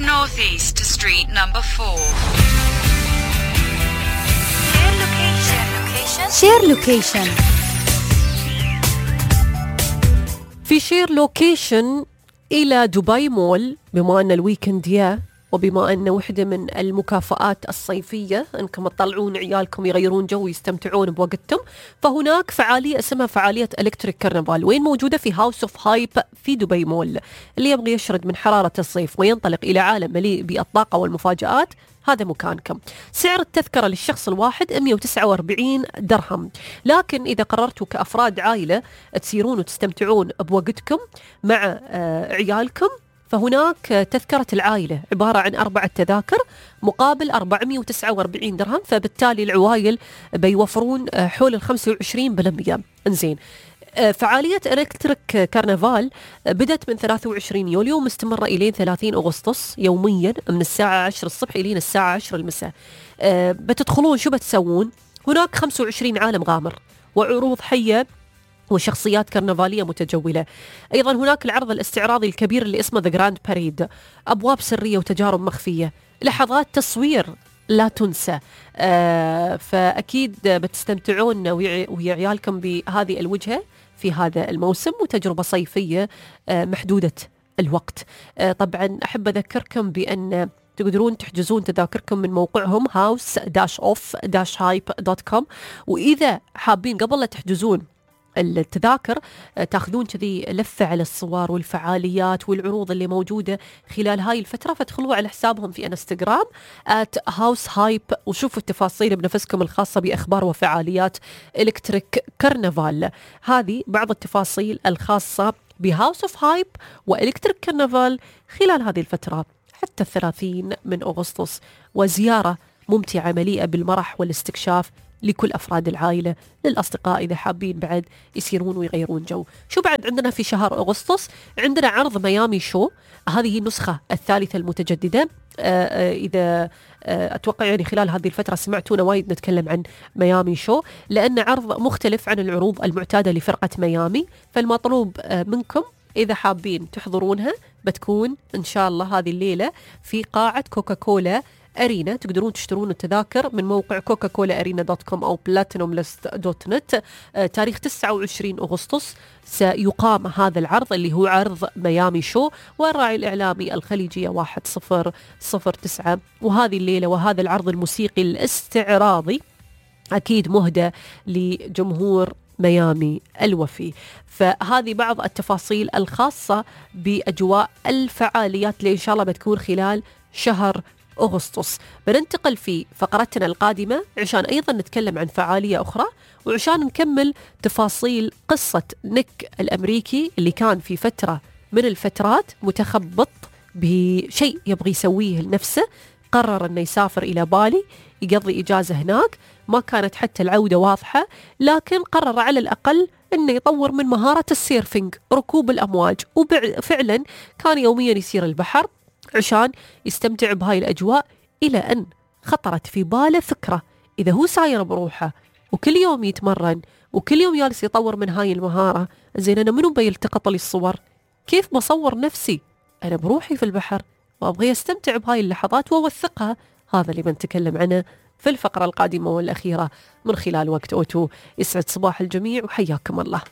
Northeast to street number 4. Share location. في شير لوكيشن إلى دبي مول، بما أن الويكند يا وبما أن وحدة من المكافآت الصيفية أنكم تطلعون عيالكم يغيرون جو ويستمتعون بوقتهم، فهناك فعالية اسمها فعالية إلكتريك كرنفال، وين موجودة في هاوس اوف هايب في دبي مول. اللي يبغى يشرد من حرارة الصيف وينطلق إلى عالم مليء بالطاقة والمفاجآت، هذا مكانكم. سعر التذكرة للشخص الواحد 149 درهم، لكن إذا قررتوا كأفراد عائلة تسيرون وتستمتعون بوقتكم مع عيالكم، فهناك تذكرة العائلة عبارة عن 4 تذاكر مقابل 449 درهم، فبالتالي العوائل بيوفرون حول 25%. انزين، فعالية إلكتريك كرنفال بدأت من 23 يوليو ومستمرة إلى 30 أغسطس يوميا من الساعة 10 الصبح إلى الساعة 10 المساء. بتدخلون شو بتسوون؟ هناك 25 عالم غامر وعروض حية وشخصيات كرنفالية متجولة. أيضا هناك العرض الاستعراضي الكبير اللي اسمه The Grand Parade، أبواب سرية وتجارب مخفية، لحظات تصوير لا تنسى. فأكيد بتستمتعون ويا عيالكم بهذه الوجهة في هذا الموسم، وتجربة صيفية محدودة الوقت. طبعا أحب أذكركم بأن تقدرون تحجزون تذاكركم من موقعهم house-off-hype.com، وإذا حابين قبل لا تحجزون التذاكر تاخذون كذي لفة على الصور والفعاليات والعروض اللي موجودة خلال هاي الفترة، فادخلوا على حسابهم في انستغرام @househype وشوفوا التفاصيل بنفسكم الخاصة بأخبار وفعاليات إلكتريك كرنفال. هذه بعض التفاصيل الخاصة بهاوس اوف هايب وإلكتريك كرنفال خلال هذه الفترة حتى 30 من أغسطس، وزيارة ممتعة مليئة بالمرح والاستكشاف لكل أفراد العائلة، للأصدقاء إذا حابين بعد يسيرون ويغيرون جو. شو بعد عندنا في شهر أغسطس؟ عندنا عرض ميامي شو، هذه النسخة الثالثة المتجددة. إذا أتوقع يعني خلال هذه الفترة سمعتونا وايد نتكلم عن ميامي شو، لأن عرض مختلف عن العروض المعتادة لفرقة ميامي. فالمطلوب منكم إذا حابين تحضرونها بتكون إن شاء الله هذه الليلة في قاعة كوكاكولا أرينا. تقدرون تشترون التذاكر من موقع coca-cola-arena.com أو platinumlist.net. تاريخ 29 أغسطس سيقام هذا العرض اللي هو عرض ميامي شو، والراعي الإعلامي الخليجية 1009. وهذه الليلة وهذا العرض الموسيقي الاستعراضي أكيد مهدى لجمهور ميامي الوفي. فهذه بعض التفاصيل الخاصة بأجواء الفعاليات اللي إن شاء الله بتكون خلال شهر أغسطس. بننتقل في فقرتنا القادمة عشان أيضا نتكلم عن فعالية أخرى، وعشان نكمل تفاصيل قصة نيك الأمريكي اللي كان في فترة من الفترات متخبط بشيء يبغي يسويه لنفسه. قرر أنه يسافر إلى بالي يقضي إجازة هناك، ما كانت حتى العودة واضحة، لكن قرر على الأقل أنه يطور من مهارة السيرفينج، ركوب الأمواج. وفعلا كان يوميا يسير البحر عشان يستمتع بهاي الأجواء، إلى أن خطرت في باله فكرة: إذا هو ساير بروحه وكل يوم يتمرن وكل يوم جالس يطور من هاي المهارة، زين أنا منو بيلتقط لي الصور؟ كيف بصور نفسي أنا بروحي في البحر وأبغي أستمتع بهاي اللحظات وأوثقها؟ هذا اللي بنتكلم عنه في الفقرة القادمة والأخيرة من خلال وقت أوتو. يسعد صباح الجميع وحياكم الله.